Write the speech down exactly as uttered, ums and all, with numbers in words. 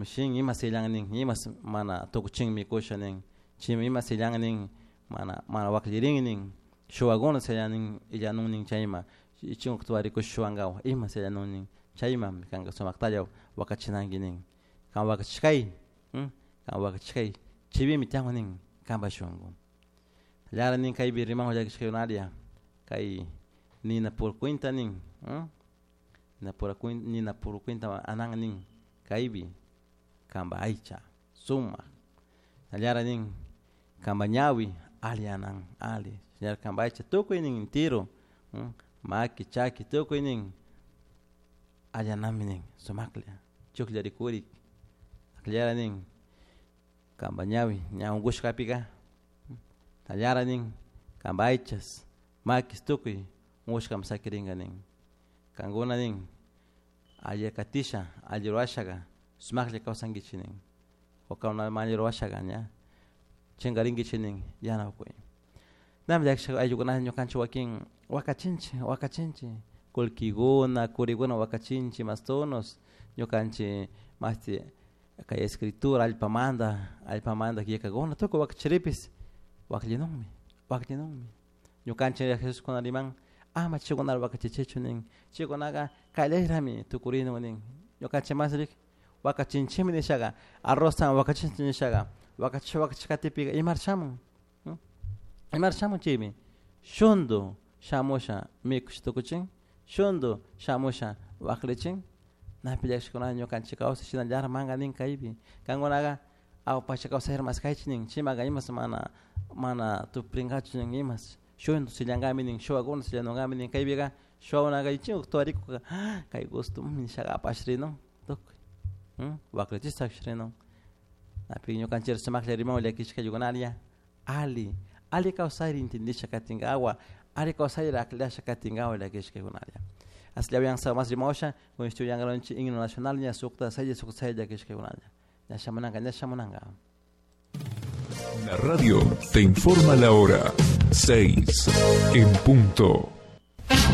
Shin ima sillan nin imas mana tukuchin mikusha nin chimi ima sillan nin mana mana waklirin nin shuwakuna sillan nin illanun nin chayma ichinku shuwankawa ima sillanun nin chayma kanka sumaktalla wakachinanki nin kan wakachishkay kan wakachishkay chivimi tiyan nin kanpa shunku llara nin kaypi riman llakishkaykunaria kay nina puro cuenta nin nina pura nina puro cuenta anan nin kaypi kanpa aycha sumak llara nin kanpa ñawi alli anan alli shinallar kanpa aycha tukuy nin entero maki chaki tukuy nin allanami nin sumaklla chuklla rikurik llara nin kanpa ñawi ña unkushkapika tallara nin kanpa aychas makis tukuy unkushkami sakirinka nin kankuna nin alli katisha alli rurashaka sumaklla kawsankichik nin o mana alli rurashaka ña chinkarinkichik nin yanapakuy nami llakishka ayllukunata ñukanchik wakin wakachinchik wakachinchik kullkikuna kurikuna wakachinchik mastonos ñukanchik mashti kay escritura allpamanta allpamanta killkakuna tukuy wakachiripis wakllinunmi wakllinunmi ñukanchik Jesús kuna riman ama chaykunata wakachichichu nin chaykunaka kallayrami tukurinun nin ñukanchik mas wakachinchikmi nishaka arrozta wakachinchik nishaka wakachish wakachish katipika imar shamun imar shamun chaymi shundu shamusha mikush tukuchin shundu shamusha waklichin napi llakishkuna ñukanchik kawsay shinallara manka nin kaypi kankunaka awpacha kawsayta maskaychik nin chimaka imas mana mana tuprinkachu nin imas shundu sillankami nin shuwakuna sillanunkami nin kaypika shuwakunaka ichinku tuwarikuka kay gusto nishaka apashrinun tukuy waklichish sakishrinun napi ñukanchik sumaklla riman llakishka ayllukunaria alli alli kawsayri entendisha katinkawa alli kawsayri aklasha katinkawa llakishkaykunaria asllawan mas rimawsha con estudiangaronchi himno nacional ña sukta saylla sukta saylla llakishkaykunalla ña shamunanka ña shamunanka. La radio te informa la hora seis en punto.